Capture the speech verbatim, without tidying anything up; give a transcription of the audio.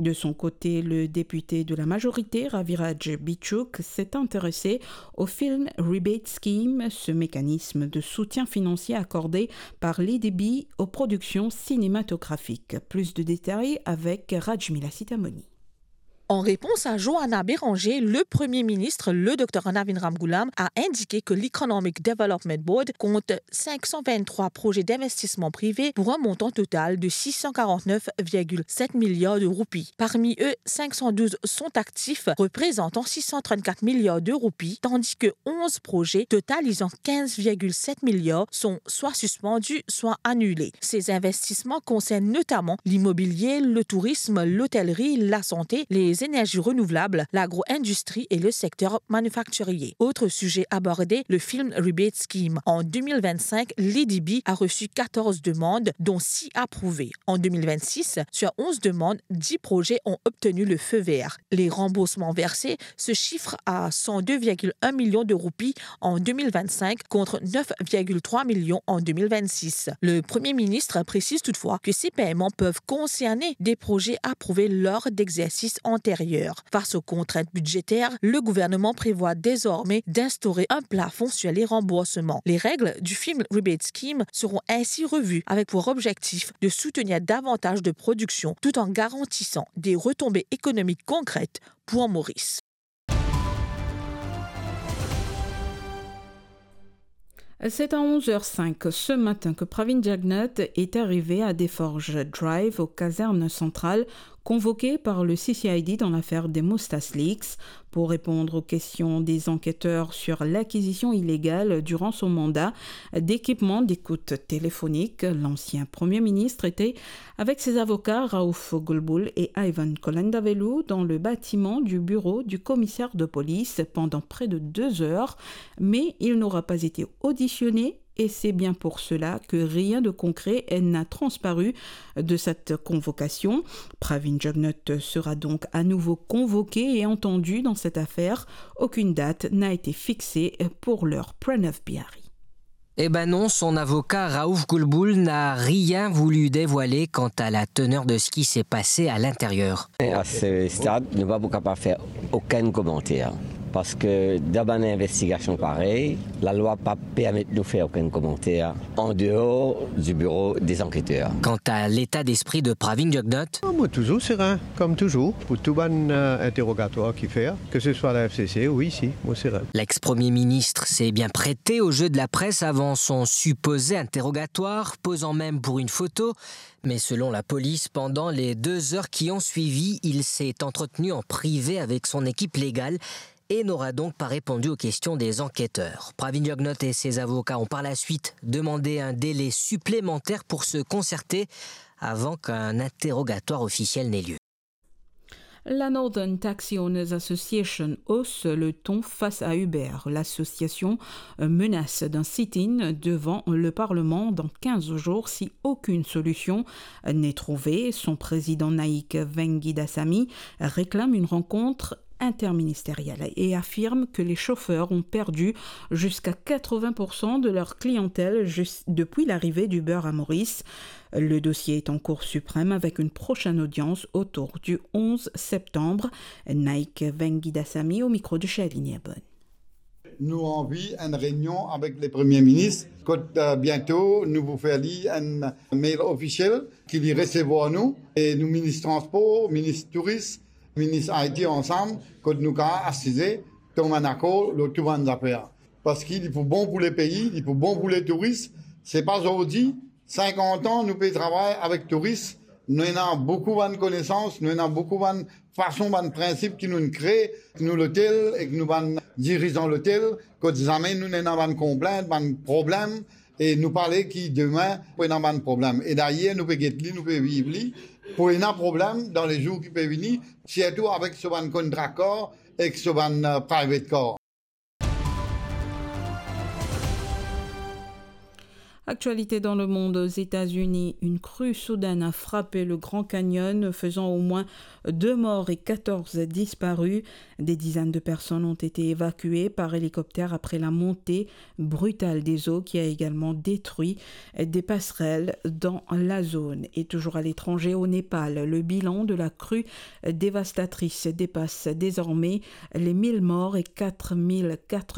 De son côté, le député de la majorité, Raviraj Bichuk, s'est intéressé au Film Rebate Scheme, ce mécanisme de soutien financier accordé par l'A D B aux productions cinématographiques. Plus de détails avec Rajmila Sitamoni. En réponse à Johanna Béranger, le Premier ministre, le docteur Navin Ramgoolam, a indiqué que l'Economic Development Board compte cinq cent vingt-trois projets d'investissement privé pour un montant total de six cent quarante-neuf virgule sept milliards de roupies. Parmi eux, cinq cent douze sont actifs, représentant six cent trente-quatre milliards de roupies, tandis que onze projets totalisant quinze virgule sept milliards sont soit suspendus, soit annulés. Ces investissements concernent notamment l'immobilier, le tourisme, l'hôtellerie, la santé, les énergies renouvelables, l'agro-industrie et le secteur manufacturier. Autre sujet abordé, le Film Rebate Scheme. En deux mille vingt-cinq, l'A D B a reçu quatorze demandes, dont six approuvées. En deux mille vingt-six, sur onze demandes, dix projets ont obtenu le feu vert. Les remboursements versés se chiffrent à cent deux virgule un millions de roupies en deux mille vingt-cinq contre neuf virgule trois millions en deux mille vingt-six. Le Premier ministre précise toutefois que ces paiements peuvent concerner des projets approuvés lors d'exercices antérieurs. Face aux contraintes budgétaires, le gouvernement prévoit désormais d'instaurer un plafond sur les remboursements. Les règles du Film Rebate Scheme seront ainsi revues avec pour objectif de soutenir davantage de productions tout en garantissant des retombées économiques concrètes pour Maurice. C'est à onze heures cinq ce matin que Pravin Jugnauth est arrivé à Desforges Drive, aux casernes centrales, convoqué par le C C I D dans l'affaire des Moustaches Leaks. Pour répondre aux questions des enquêteurs sur l'acquisition illégale, durant son mandat, d'équipements d'écoute téléphonique, l'ancien Premier ministre était avec ses avocats Raouf Gulbull et Ivan Kolandavelou dans le bâtiment du bureau du commissaire de police pendant près de deux heures, mais il n'aura pas été auditionné et c'est bien pour cela que rien de concret n'a transparu de cette convocation. Pravin Jugnauth sera donc à nouveau convoqué et entendu dans cette affaire. Aucune date n'a été fixée pour l'heure. Pranav Bihari. Eh ben non, son avocat Raouf Gulbull n'a rien voulu dévoiler quant à la teneur de ce qui s'est passé à l'intérieur. À ce stade, nou pa pou kapav fer okenn komanter, parski dan bann investigasion parey, lalwa pa permet nou fer okenn komanter an deor di biro de zankiter. Quant à l'état d'esprit de Pravin Jugnauth, Ah, mo touzour serin, kom touzour, pou tou bann, euh, interogatwar ki fer, ke se swa la F C C ou isi, mo serin. L'ex-Premier ministre s'est bien prêté au jeu de la presse avant son supposé interrogatoire, posant même pour une photo. Mais selon la police, pendant les deux heures qui ont suivi, il s'est entretenu en privé avec son équipe légale et n'aura donc pas répondu aux questions des enquêteurs. Pravin Jugnauth et ses avocats ont par la suite demandé un délai supplémentaire pour se concerter avant qu'un interrogatoire officiel n'ait lieu. La Northern Taxi Owners Association hausse le ton face à Uber. L'association, euh, menace d'un sit-in devant le Parlement dans quinze jours si aucune solution, euh, n'est trouvée. Son président Naik Vengidasamy réclame une rencontre interministérielle et affirme que les chauffeurs ont perdu jusqu'à quatre-vingts pour cent de leur clientèle jus-, depuis l'arrivée d'Uber à Maurice. Le dossier est en Cour suprême avec une prochaine audience autour du onze septembre. Naik Vengidasamy au micro de Charline Abon. Nou anvi enn reynion avek le Premie Minis, kot, euh, biento nou pou fer li enn mail ofisiel ki li resevwar nou, e nou Minis Transpor, Minis Touris, Minis I T ansam, kot nou kapav asize, tom enn akor lor tou bann zafer. Parski li pou bon pou lepei, li pou bon pou letouris. Se pa zordi, sinkant an nou pe travay avek touris. Nou ena boukou bann konesans, nou ena boukou bann fason, bann prinsip ki nou'nn kree, nou lotel ek nou bann dirizan lotel, kot zame nou ena bann konplint, bann problem, e nou pale ki demin pou ena bann problem. E dayer nou pe get li, nou pe viv li, pou ena problem dan lezour ki pe vini, sirtou avek so bann contract car ek so bann, euh, private car. Actualité dans le monde, aux États-Unis, une crue soudaine a frappé le Grand Canyon, faisant au moins deux morts et quatorze disparus. Des dizaines de personnes ont été évacuées par hélicoptère après la montée brutale des eaux qui a également détruit des passerelles dans la zone. Et toujours à l'étranger, au Népal, le bilan de la crue dévastatrice dépasse désormais les mille morts et quatre mille quatre